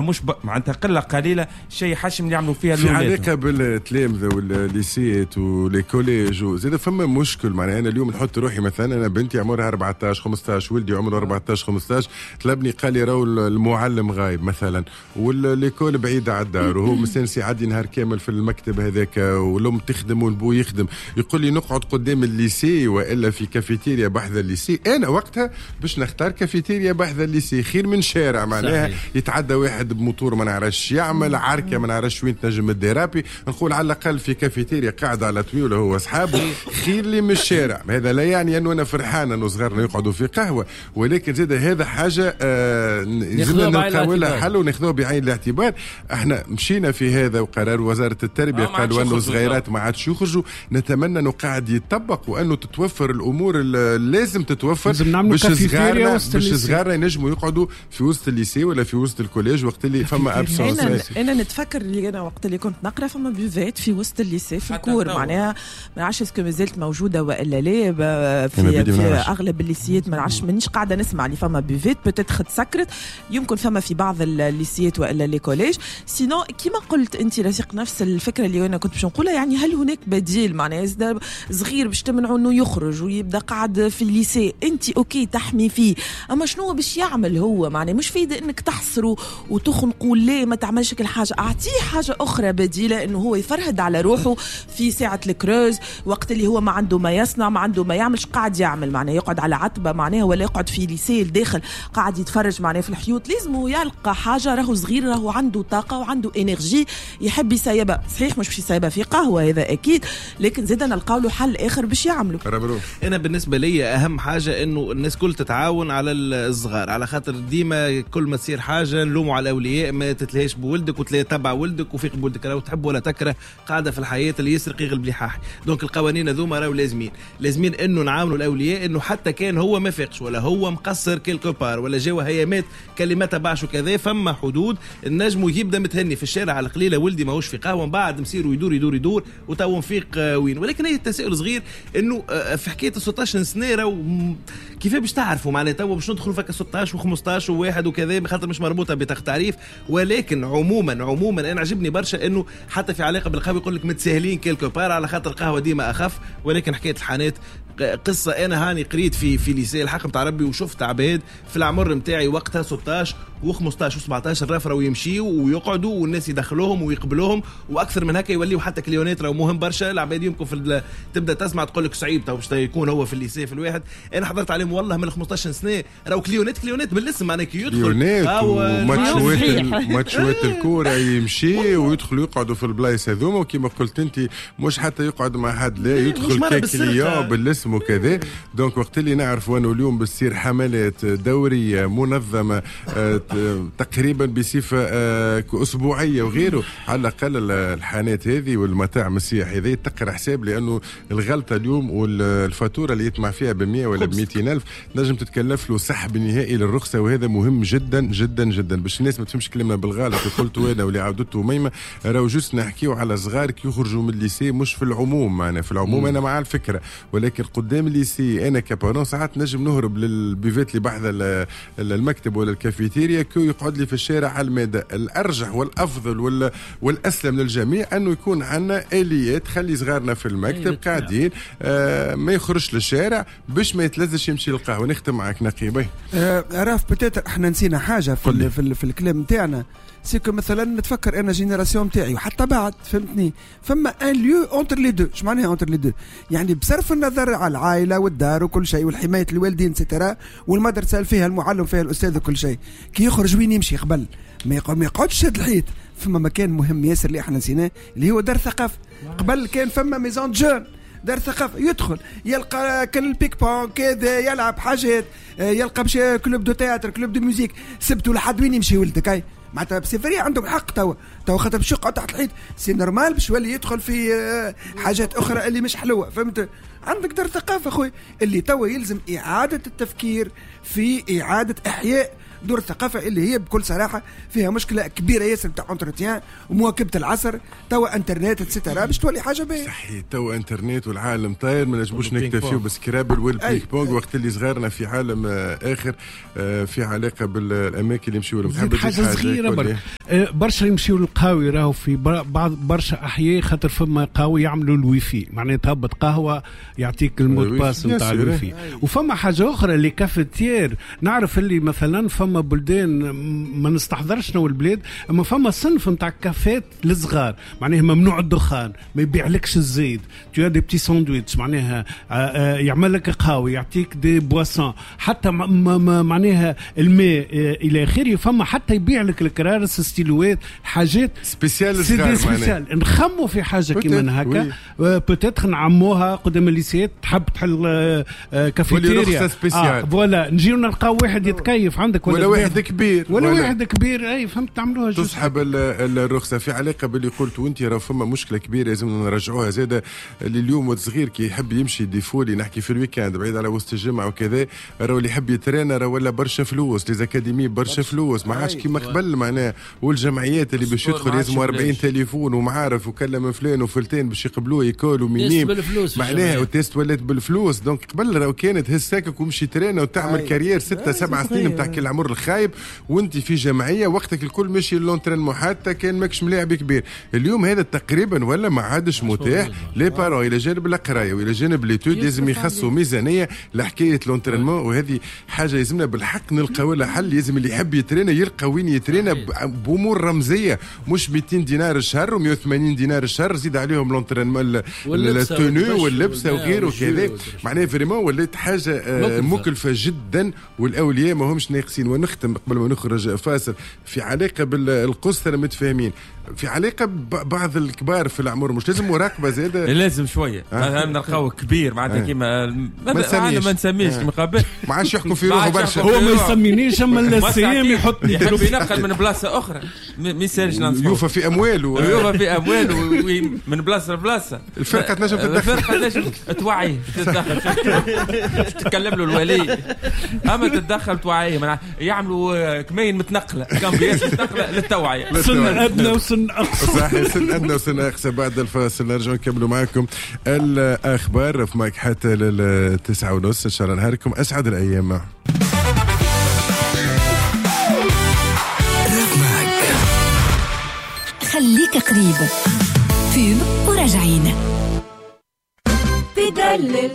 مش معناتها قلة قليله، شيء حشم اللي يعملوا فيها في علاقة بالتلامذه وال lycées و les collèges زاد فما مشكل. معناها انا اليوم نحط روحي مثلا، انا بنتي عمرها 14 15، ولدي عمره 14 15، طلبني قال لي راهو المعلم غايب مثلا و l'école بعيدة على الدار، وهو مستانس يعدي نهار كامل في المكتب هذاك، والام تخدم والبو يخدم، يقول لي نقعد قدام ال lycée والا في كافيتيريا بحذا ال lycée. انا وقتها باش نختار كافيتيريا بحذا ال lycée خير من شارع، معناها يتعدى واحد بموتور ما نعرفش يعمل عركة، ما نعرفش وين تنجم déraper. نقول على الاقل في كافيتيريا قاعد على طويلة هو اصحابه خير لي من الشارع. هذا لا يعني انه انا فرحان انه صغارنا يقعدوا في قهوه، ولكن زاد هذا حاجة لازمنا نلقاو لها حل وناخذوها بعين الاعتبار. احنا مشينا في هذا وقرار وزارة التربية قالوا انه الصغيرات ما عادش يخرجوا. نتمنى انه قاعد يطبق وانه تتوفر الامور اللي لازم تتوفر باش صغارنا ينجموا يقعدوا في وسط ال lycée ولا في وسط ال collège وقت اللي فما absence. انا نتفكر اللي انا وقت اللي كنت نقرا فما buvette في وسط ال lycée في ال cour، معناها ما نعرفش est-ce que مازالت موجودة والا لا في اغلب ال lycées، ما نعرفش، مانيش قاعدة نسمع اللي فما buvette، peut-être تسكرت، يمكن فما في بعض ال lycées والا les collèges. sinon كيما قلت انت رفيق، نفس الفكرة اللي انا كنت باش نقولها، يعني هل هناك بديل؟ معناها صغير باش تمنعه انه يخرج ويبدا قاعد في ال lycée، انت OK تحمي فيه، اما شنو باش يعمل هو؟ معناها مش فايده انك تحصره وتخنقه، لا ما تعملش كل حاجة، اعطيه حاجة اخرى بديله انه هو يفرهد على روحه في ساعة ال creuse، وقت اللي هو ما عنده ما يصنع، ما عنده ما يعملش، قاعد يعمل معناها يقعد على عتبة معناها، ولا يقعد في lycée الداخل قاعد يتفرج معناها في الحيوط. لازم يلقى حاجة، راهو صغير، راهو عنده طاقة وعنده énergie يحب يسيبها، صحيح مش باش يسيبها في قهوة هذا اكيد، لكن زاد نلقاو له حل اخر باش يعمله. انا بالنسبة لي اهم حاجة انه الناس كل تتعاون على الصغار، على خاطر ديما كل ما تصير حاجة نلوموا على الاولياء، ما تتلهاش بولدك وتلاقي تبع ولدك وفيق بولدك، راهو تحب ولا تكره قاعدة في الحياة اللي يسرق يغلب لحاح. donc القوانين هذوما راهو لازمين انه نعاونوا الاولياء انه حتى كان هو ما فاقش ولا هو مقصر quelque part ولا جاو هيامات كلمة تبعش وكذا، فما حدود النجم يبدا متهني في الشارع على القليلة، ولدي ماهوش في قهوة، من بعد مسير يدور يدور يدور وتو نفيق وين. ولكن هي التساؤل صغير انه في حكاية 16 سنة راهو كيف باش تعرفوا معناها تو باش ندخلوا فك 16 و15 وواحد وكذا، خاطر مش مربوطة بطاقة تعريف. ولكن عموما انا عجبني برشا انه حتى في علاقة بالقهوة يقول لك متساهلين quelque part على خاطر القهوة ديما اخف، ولكن حكاية الحانات قصة. انا هاني قريت في lycée الحق نتاع ربي وشفت عباد في العمر نتاعي وقتها 16 و15 و17 رافروا ويمشيوا ويقعدوا والناس يدخلوهم ويقبلوهم، واكثر من هكا يوليوا حتى clients. راهو مهم برشا العباد يمكن في تبدا تسمع تقول لك صعيب تو باش يكون هو في ال lycée في الواحد. انا حضرت عليهم والله من 15 سنة راهو clients بالاسم، معناها كي يدخل ماتشوات الكورة يمشي ويدخلوا يقعدوا في البلايص هذوما، وكما قلت انت مش حتى يقعد مع حد، لا يدخل ك client بالاسم وكذا. donc وقت اللي نعرفوا انه اليوم بتصير حملات دورية منظمة تقريبا بصفة اسبوعية وغيره، على الاقل الحانات هذه والمطاعم السياحية هذه تقرا حساب، لانه الغلطة اليوم والفاتوره اللي يطمع فيها ب 100 ولا ب 200 الف نجم تتكلف له سحب نهائي للرخصه، وهذا مهم جدا جدا جدا باش الناس ما تفهمش كلمة بالغلط. قلت انا واللي عاودته ميمه، راهو juste نحكيو على صغار كي يخرجوا من ال lycée، مش في العموم. معنا في العموم انا مع الفكرة، ولكن قدام ال lycée انا ك parent ساعات نجم نهرب لل buvette اللي بحذا المكتب ولا الكافيتيريا، كي يقعد لي في الشارع على المادة. الارجح والافضل والاسلم للجميع انه يكون عندنا اليات تخلي صغارنا في المكتب قاعدين، ما يخرجش للشارع باش ما يتلزش يمشي للقهوة. نختم معك نقيبي. راف peut-être احنا نسينا حاجة في الكلام نتاعنا، c'est que مثلا نتفكر انا génération تاعي وحتى بعد، فهمتني، فما un lieu entre les deux. اش معناها entre les deux؟ يعني بصرف النظر على العائلة والدار وكل شيء والحماية الوالدين et cetera، والمدرسة فيها المعلم فيها الاستاذ وكل شيء، كي يخرج وين يمشي قبل ما يقعدش شاد الحيط. فما مكان مهم ياسر اللي احنا نسيناه اللي هو دار ثقافة. قبل كان فما maison jeunes، دار ثقافة، يدخل يلقى كل ping-pong كذا، يلعب حاجات، يلقى مشي club de théâtre، club de musique. سبتوا لحد وين يمشي ولدك؟ اي معناتها c'est vrai عندهم حق توا خاطر باش يقعد تحت الحيط c'est normal باش يولي يدخل في حاجات اخرى اللي مش حلوة، فهمت؟ عندك دار ثقافة خويا اللي توا يلزم اعاده التفكير في اعاده احياء دور الثقافة اللي هي بكل صراحة فيها مشكلة كبيرة ياسر نتاع entretien ومواكبه العصر، توا انترنت et cetera باش تولي حاجة باهيه. صحيح، توا انترنت والعالم طاير، ما نجموش نكتفيو ب Scrabble وال ping-pong وقت اللي صغارنا في عالم اخر في علاقة بالاماكن اللي يمشيو لهم. حاجة صغيرة برك، برشا يمشيو للقهاوي، راهو في بعض برشا احياء خاطر فما قهوة يعملوا الويفي، معناها تهبط قهوة يعطيك ال mot de passe نتاع الويفي. وفما حاجة اخرى les cafetières، نعرف اللي مثلا فما بلدان ما نستحضرش نو البلاد، اما فما صنف نتاع كافات للصغار، معناها ممنوع الدخان، ما يبيعلكش الزيت، tu as des petits sandwichs، معناها يعمل لك قهوة، يعطيك des boissons، حتى معناها الماء الى اخره. فما حتى يبيع لك الكرارس، ستيلوات، حاجات spécial spécial. نخموا في حاجة كيما هكا peut-être نعموها قدام الليسيات، تحب تحل كافيتيريا voilà، نجيو نلقاو واحد يتكيف عندك ولا واحد كبير ولا واحد كبير، اي فهمت، تعملوها تسحب الرخصة. في علاقة باللي قلت وانت، راه فما مشكلة كبيرة لازم نرجعوها زاده، اللي اليوم الصغير كي يحب يمشي défouler، نحكي في ال week-end بعيد على وسط الجمعة وكذا، راهو اللي يحب يترينا راه ولا برشا فلوس، les académies برشا فلوس، ما عادش كيما قبل معناها. والجمعيات اللي باش يدخل لازم 40 تليفون ومعارف وكلم فلان وفلتان باش يقبلوه école و minimes معناها، وال test ولات بالفلوس. donc قبل راهو كانت هز ساكك ومشي ترينا وتعمل carrière 6 7 سنين نتاع كل العمر الخايب وانت في جمعية وقتك الكل ماشي l'entraînement حتى كان ماكش ملاعب كبير. اليوم هذا تقريبا ولا ما عادش متاح. les parents الى جانب القراية والى جانب les études لازم يخصوا ميزانية لحكاية l'entraînement، وهذه حاجة لازمنا بالحق نلقاو لها حل. لازم اللي يحب يترينا يلقى وين يترينا بامور رمزية، مش 200 دينار الشهر و180 دينار الشهر زيد عليهم l'entraînement ال tenue واللبسه وغيره وكذا. معناها vraiment ولات حاجة مكلفة جدا والاولياء ما همش ناقصين. ونختم قبل ما نخرج فاصل في علاقة بالقصة متفاهمين، في علاقة ببعض الكبار في العمر مش لازم مراقبة زاده؟ لازم شوية نلقاو كبير معناتها كيما ما نسميش كيما قبل، ما عادش يحكم في روحه برشا، هو ما يسمينيش اما السيام يحطني يحب ينقل من بلاصة اخرى، ما يسالش يوفى في امواله، يوفى في امواله من بلاصة لبلاصه. الفرقة تنجم تتدخل، الفرقة تنجم توعيه، تتدخل تتكلم له الولي، اما تتدخل توعيه، يعملوا كمين متنقله، كامبيات متنقله للتوعية، سن ادنى وسن اقصى. صحيح، سن ادنى وسن اقصى. بعد الفاصل نرجع نكملوا معكم الاخبار في ماك حتى 9:30. ان شاء الله نهاركم اسعد الايام. خليك قريب pub وراجعين. تدلل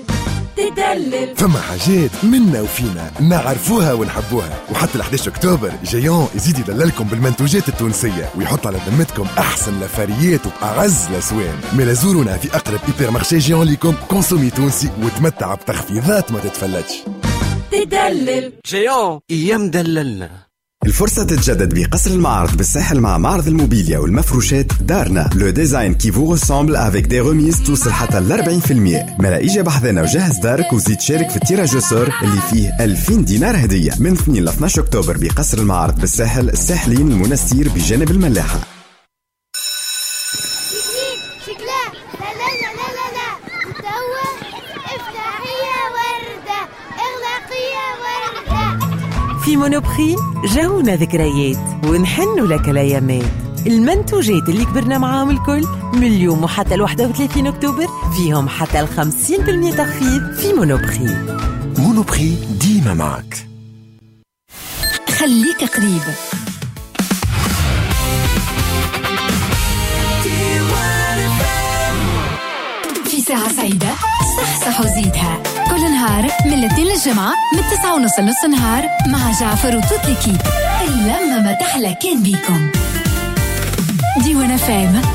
تدلل، فما حاجات منا وفينا نعرفوها ونحبوها، وحتى 11 اكتوبر Géant يزيد يدللكم بالمنتوجات التونسية ويحط على ذمتكم احسن لفاريات وباعز الاسوان. ملا زورونا في اقرب hypermarché Géant ليكم، consommer تونسي وتمتع بتخفيضات ما تتفلتش. تدلل Géant يا مدللنا. الفرصة تتجدد بقصر المعارض بالساحل مع معرض الموبيليا والمفروشات دارنا، le design qui vous ressemble avec des remises توصل حتى ل 40%. ملا إجا بحذنا وجهز دارك وزيد شارك في ال tirage au sort اللي فيه 2000 دينار هدية من 2 ل 12 أكتوبر بقصر المعارض بالساحل، الساحلين المنستير بجانب الملاحة. في Monoprix جاونا ذكريات ونحنوا لك الايامات. المنتوجات اللي كبرنا معاهم الكل من اليوم وحتى 31 اكتوبر فيهم حتى 50% تخفيض في Monoprix. Monoprix ديما معك. خليك قريب. في ساعة سعيدة صح صح وزيدها كل نهار من الاثنين للجمعة من 9:30 لنص النهار مع جعفر و toute l'équipe. اللمة ما تحلى كان بيكم. ديوان FM.